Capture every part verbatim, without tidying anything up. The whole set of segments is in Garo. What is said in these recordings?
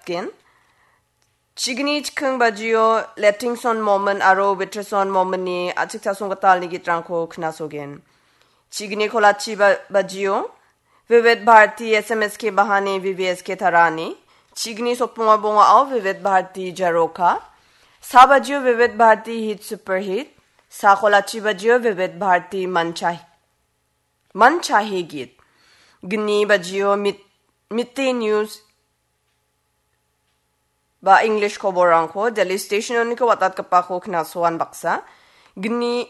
Gen. Chigni chiking bajio Lettingson Momin aro Witterson Mominni a·chik chasong gitalni gitrangko knasogen. Chigni kolachi ba-, bajio Vivid Bharati S M S K Bahani V V S K Tarani. Chigni sotbonga bongao Vivid Bharati Jaroka. Sa bajio Vivid Bharati Hit Super Hit. Sa kolachi bajio Vivid Bharati Manchai. Manchahe Git. Gni bajio Mit-, Mitte News ba English koborrangko Delhi Station-oniko watatgipako knasoan baksa. Gni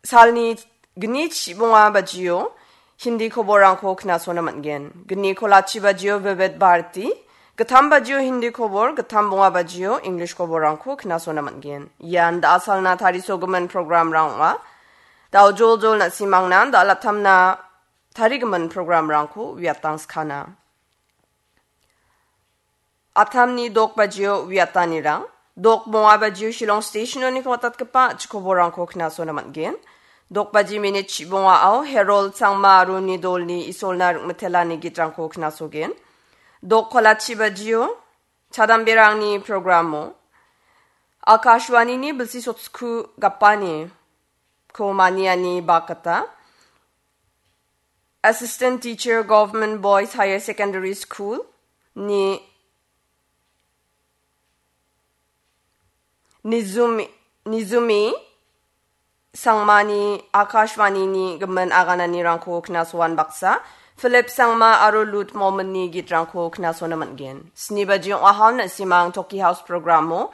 salni gni chibonga bajio Hindi koborrangko knasona man·gen. Gni kolachi bajio Vivid Bharati, gittam bajio Hindi kobor, gittam bonga bajio English koborrangko knasona man·gen. Ian da·a salna tarisogimin programrang ong·a. Dao joljol na·simangna da·a latamna tarigimin programrangko uiatangskana. Atamni dok bajio uiatanirang, dok bonga bajio Shillong Station-oniko watatgipa chikoborangko knasona man·gen. Dok baji minit chibongao Herol Changma aro Nidolni Isolna Ringmitelani gitrangko knasogen. Dok kolachi bajio Chadamberangni programo Akashwanini bilsi sotsku gapani ko maniani bakata Assistant Teacher, Government Boys Higher Secondary School ni Nizumi, Nizumi Sangmani Akashwanini gimin agananirangko knasoan baksa, Philip Sangma aro Lut Mominni gitrangko knasona man·gen. Sni baji ong·ahal na·simang Toki House programo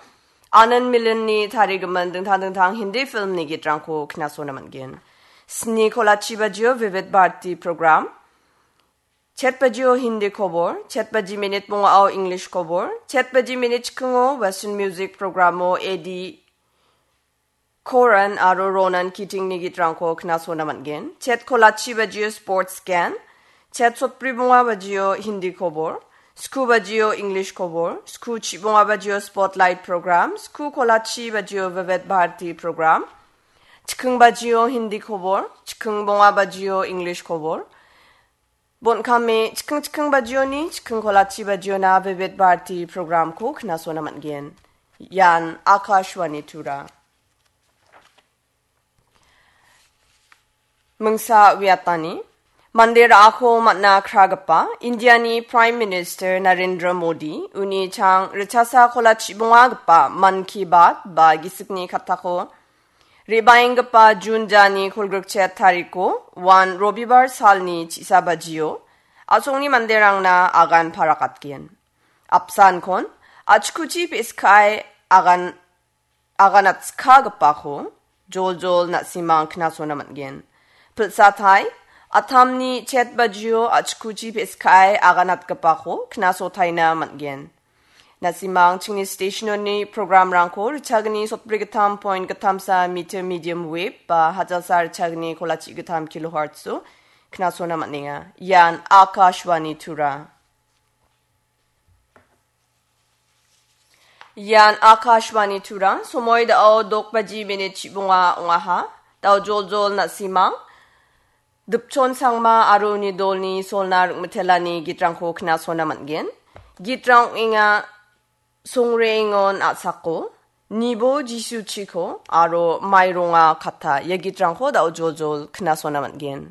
Anand Milinni tarigimin dingtang dingtang Hindi filmni gitrangko knasona man·gen. Sni kolachi bajio Vivid Bharati program, chet bajio Hindi kobor, chet baji minit bongao English kobor, chet baji minit chikingo Western Music programo Eddie Coren aro Ronan Keatingni gitrangko knasona man·gen. Chet kolachi bajio Sports Scan, chet sotbri bonga bajio Hindi kobor, sku bajio English kobor, sku chibonga bajio Spotlight program, sku kolachi bajio Vivid Bharati program, chiking bajio Hindi kobor, chiking bonga bajio English kobor, Bon kame chiking chiking bajioni, chiking kolachi bajiona Vivid Bharati programko knasona man·gen. Ian Akashvani Tura. Mingsa uiatani. Mande ra·ako man·a kragipa Indiani Prime Minister Narendra Modi uni chang richasa kolachi bongagipa Mann Ki Baat ba gisikni kattako Re·baenggipa Jun jani kolgrikchet tariko uan Robibar salni chi·sa bajio a·songni manderangna agan parakatgen. Apsankon achkuchi pe·skae agan, aganatskagipako joljol na·simang knasona man·gen. Pilsatai, atamni chet bajio achkuchi pe·skae aganatgipako knasotaina man·gen. Na·simang chingni stationoni programrangko richagni sotbri gittam point gittamsa meter medium wave ba hajalsa richagni kolachi gittam kilohertzo knasona man·enga. Ian Akashvani Tura. Ian Akashvani Tura, somoi da·o dok baji minit chibonga ong·aha. Da·o joljol na·simang. Dipchon Sangma aro uni dolni solna ring·mitelani gitrangko knasona man·gen. Gitrang ong·enga Songreengon a·sako, Nibo Jisuchiko aro Maironga Kata ia gitrangko da·o joljol knasona man·gen.